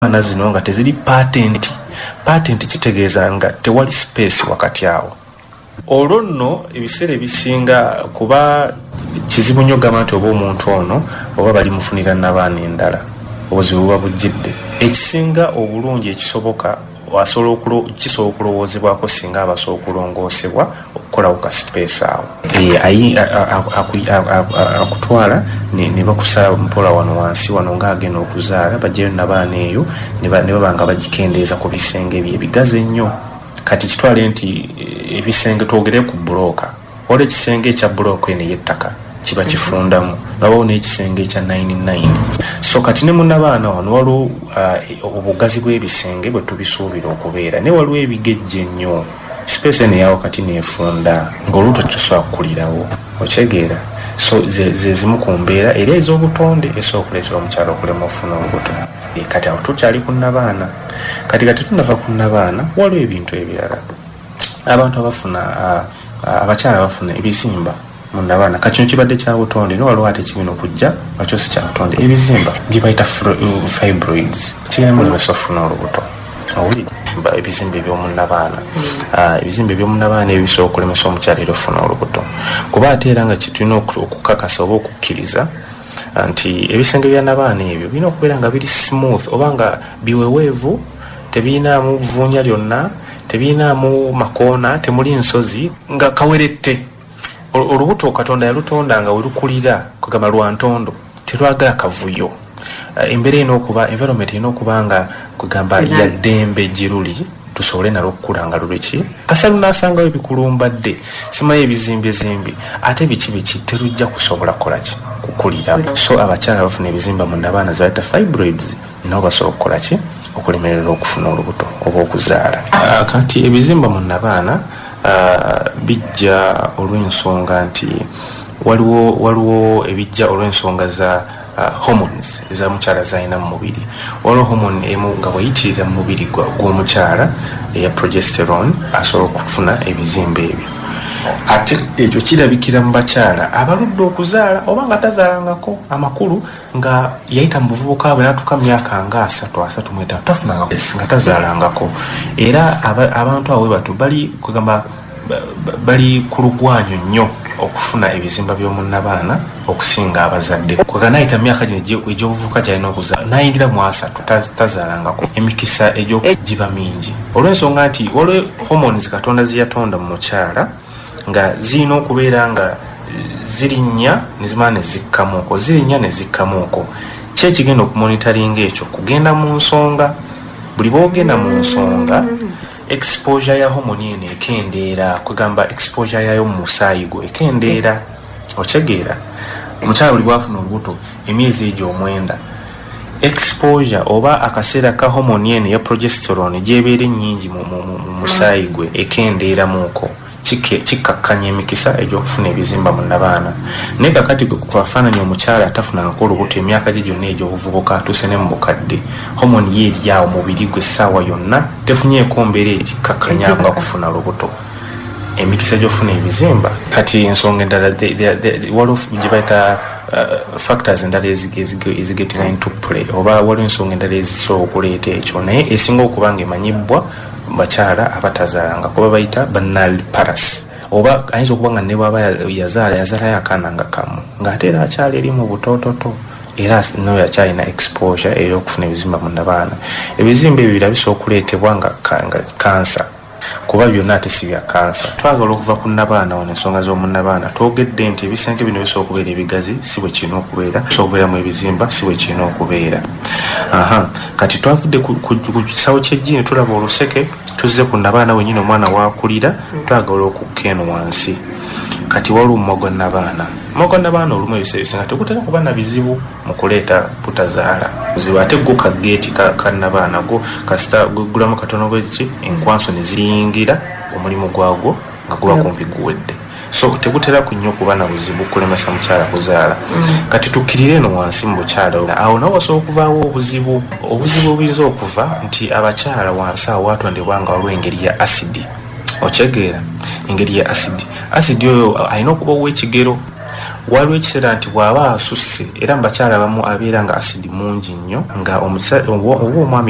Abaana zino nga teziri patent. Patent kitegeeza nga tewali space wakati awo. Olwo nno ebiseera ebisinga kuba kizibu nnyo okugamba nti oba omuntu ono oba balimufunira nabaana endala, obuzibu buba bujjidde. Ekisinga obulungi ekisoboka, asobola, kisobola okulowoozebwako singa aba asobola okulongoosebwa okukolawo ka space awo. Akutwala ne bakusala mpola wano wansi wano ng'agenda okuzaala, bajjayo nabaana eyo ne baba nga bagikendeeza ku bisenge ebyo ebigazi ennyo. Kati kitwale nti ebisenge, twogere ku bulooka, waliwo ekisenge ekya bulooka eno ey'ettaka kiba kifundamu, nabawo n'ekisenge ekya 99. So kati ne munabaana wano waliwo obugazi bw'ebisenge bwe tubisuubira okubeera, naye waliwo ebigejja ennyo, space eno eyawo kati neefunda ng'olubuto tetusobola kukulirawo, okyegeera? So ze zimu ku mbeera era ez'obutonde esobola okuleetera omukyala okulema okufuna olubuto. Kati awo tukyali ku nabaana. Kati tunava ku nabaana, waliwo ebintu ebirala, abantu abafuna, abakyala abafuna ebizimba mu nabaana. Kati kino kibadde kya butonde, naye waliwo ate kigenda okujja nga kyo si kya butonde, ebizimba bye bayita fibroids, kigenda mulemesa okufuna olubuto. Owulidde? Ebizimba ebyomunabaana, ebizimba ebyomunabaana ebyo bisobola okulemesa omukyala era okufuna olubuto, kuba ate era nga kyetulina okukakasa oba okukkiriza nti ebisenge bya nabaana ebyo birina okubeera nga biri smooth oba nga biweweevu, tebirinaamu vvuunya lyonna, tebirinaamu makoona, temuli nsozi, nga kawerette. Olubuto Katonda yalutonda nga welukulira kugamba lwa ntondo, terwagala kavuyo. Embeera erina okuba, environment erina okuba nga kugamba yaddembe gye luli, tusobole nalwo okukula nga luliki. Kasa lunaasangawo ebikulumbadde, simanyi ebizimbezimbi, ate biki biki, terujja kusobola kukolaki, kukulira. So abakyala bafuna ebizimba mu nabaana zebayita fibroids, nabo basobola okukolaki, okulemerera okufuna olubuto oba okuzaala. Kati ebizimba mu nabaana bijja olw'ensonga nti waliwo ebijja olw'ensonga za hormones eza mukyala zalina mu mubiri. Waliwo hormone emu nga bweyitirira mu mubiri gw'omukyala eya progesterone, asobola okufuna ebizimba ebyo. Ate ekyo kirabikira mu bakyala abaludde okuzaala oba nga tazaalangako, amakulu nga yayita mu buvubuka bwe n'atuuka mu myaka nga 30, 35, tafunanga, nga tazaalangako. Era abantu abo bwe batyo bali kugamba bali ku lugwanyu nnyo okufuna ebizimba by'omunnabaana okusinga abazadde. Kwega nayita mu myaka gino egy'obuvubuka gyalina okuzaala, nayingira mu 30, tazaalangako, emikisa egyogiba mingi, olw'ensonga nti waliwo hormones Katonda ze yatonda mu mukyala nga zirina okubeera nga zirinnya ne zimala ne zikkamuuko, zirinnya ne zikkamuuko. Ki ekigenda okumonitaringa ekyo? Kugenda mu nsonga. Buli bwogenda mu nsonga, exposure ya hormone eno ekendeera, kwegamba exposure yayo mu musaayi gwo ekendeera, okyegeera? Omukyala buli bwafuna olubuto, emyezi egyo 9, exposure oba akaseera ka hormone eno eya progesterone gyebeera ennyingi mu musaayi gwe ekendeeramuuko, kikkakkanya emikisa egy'okufuna ebizimba mu nabaana. Naye kakati kwafaananya omukyala atafunangako olubuto emyaka gye gyonna egy'obuvubuka, atuuse ne mu bukadde, hormone ye eri awo mubiri gwe essaawa yonna, tefunyeeko mbeera egikkakkanya nga kufuna lubuto, emikisa gy'okufuna ebizimba. Kati ensonga endala, waliwo gye bayita factors endala ezigetinga into play, oba waliwo ensonga endala ezisobola okuleeta ekyo, naye esinga okuba nga emanyibwa bakyala abatazaalanga, kuba bayita ba nulliparous, oba ayinza okuba nga ne bwaba yazaala, yazaalayo akaana nga kamu, ng'ate era akyali eri mu butoototo, era noyo akyalina exposure ey'okufuna ebizimba mu nabaana. Ebizimba ebyo bira bisobola okuleetebwa nga kansa, kuba byonna ate si bya kansa. Twagala okuva ku nabaana wano, ensonga z'omunabaana, twogedde nti ebisenke bino bisobola okubeera ebigazi, si bwe kirina okubeera, bisobola okubeeramu ebizimba, si bwe kirina okubeera. Aha, kati twavudde ku kisawo ky'eggiini, tulaba oluseke, tuzze ku nabaana wenyini omwana wakulira. Twagala okukka eno wansi. Kati waliwo omumwa gwa nabaana. Omumwa gwa nabaana olumu ebiseera ebisinga tegutera kuba na bizibu mu kuleeta butazaala buzibu, ate gwo kageeti ka nabaana gwo kasita gweggulamu katono bweki, enkwanso ne ziyingira, omulimu gwagwo nga guba kumpi guwedde. So tegutera ku nnyo kuba na buzibu kulemesa mukyala kuzaala. Kati tukkirire eno wansi mu bukyala, awo nawo wasobola okuvaawo obuzibu. Obuzibu obuyinza okuva nti abakyala wansi awo watondebwa nga waliwo engeri ya asidi, okyegeera? Engeri ya asidi, asidi oyo alina okuba ow'ekigero. Waliwo ekiseera nti bw'aba asusse, era mu bakyala abamu abeera nga asidi mungi nnyo, nga oba omwami